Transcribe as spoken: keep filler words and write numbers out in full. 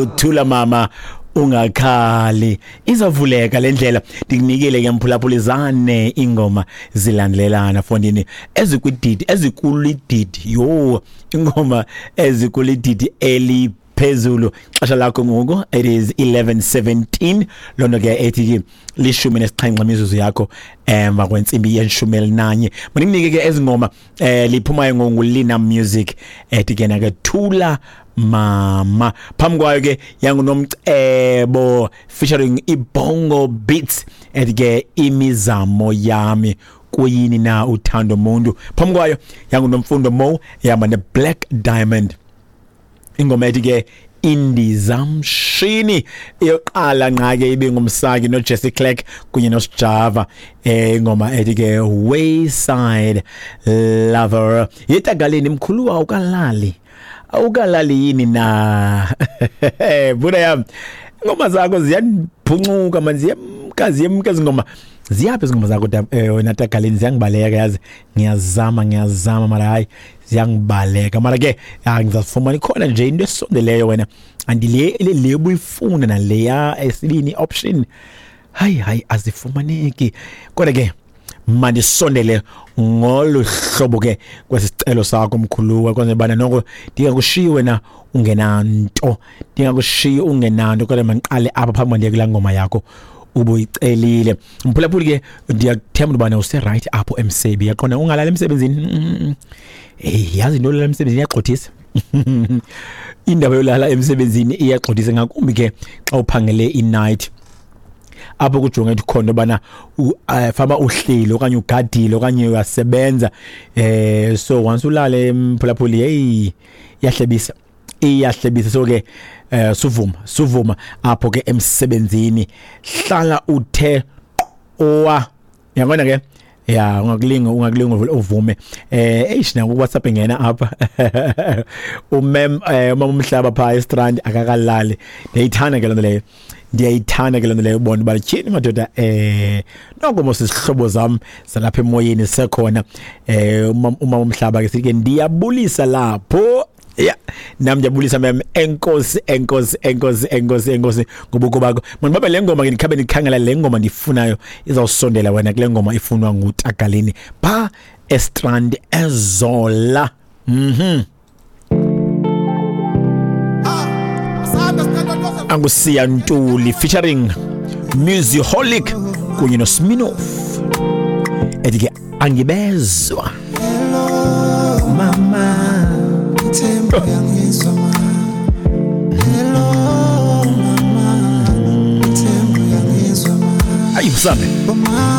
Thula mama, ungakhali, izavuleka le ndlela. Ndikunikele ke mphulaphuli zane ingoma zilandelelana fondini ezikwididi ezikulididi yo ingoma ezikulididi eli phezulu. Xesha lakho ngoku it is eleven seventeen, loo nto ke ethi ke lishumi nesixhenxe imizuzu yakho emva kwentsimbi yeshumi elinanye. Mandikunike ke ezi ngoma eh liphumayo ngoNgulina Music ethi ke nake Thula Mama. Phambi kwayo ke yanguNomcebo featuring iBongo Beats ethi ke Imizamo Yami Kuyini Na Uthando Muntu. Phambi kwayo yanguNomfundo Mo yahamba neBlack Diamond, ingoma ethi ke Indizamshini. Iyoqala nqa ke ibe ngumsaki noJesse Clark kunye noSjava, eh ingoma ethi ke Wayside Lover. Yetagaleni mkhulu awukalali awukalali yini na buda yami, ingoma zakho ziyandiphuncuka manje, ziyemka ziyemka izingoma ziyaphi izingoma zakho wena Tagaleni, ziyangibaleka yazi, ngiyazama ngiyazama mara hayi ziyangibaleka. Mara ke ngizafumana ikhona nje into esondeleyo wena, andile le ubuyifuna naleya esibini option, hayi hayi azifumaneki. Kodwa ke mandisondele ngolu hlobo ke kwesicelo sakho mkhuluwa, kwenze bana noko ndingakushiyi wena ungenanto, ndingakushiyi ungenanto. Kodwa mandiqale apha phambi ndiye kulaa ngoma yakho ubuyicelile mphulaphuli. Ke ndiyakuthemba ubana use-right apho emsebi, yaqonda ungalala emsebenzini. Hey, yazi into yolala emsebenzini iyagxothisa. Indaba yolala emsebenzini iyagxothisa, ngakumbi ke xa uphangele i-night apho kujonge ukuthi khona bana fama uhleli okanye ugadile okanye uyasebenza. Eh so once ulale mphulaphuli, hey iyahlebisa iyahlebisa. So ke eh suvuma suvuma apho ke emsebenzini, hlala uthe owa yabona ke ya ungakulinga ungakulinga uvume. Eh eish na ku WhatsApp ngena apha umem umama umhlaba pha eStrand akakalali. Ndiyayithanda ke lento leyo, ndiyayithanda ke lento leyo ubona uba tyhini madoda eh noko mos isihlobo zam zalapha emoyeni sekhona. Eh umama umhlaba ke sithi ke ndiyabulisa lapho. Ya nami ndiyabulisa mem, enkosi enkosi enkosi enkosi enkosi ngobuko bakho. Mandibabe le ngoma ke ndikhabe ndikhangela le ngoma ndiyifunayo izawusondela wena kule ngoma ifunwa nguTagaleni pha eStrand eZola. Mhm Angusiya Ntuli featuring Musiholic kunye noSminoff ethi ke Angibezwa. Hello mama, Ayi msame.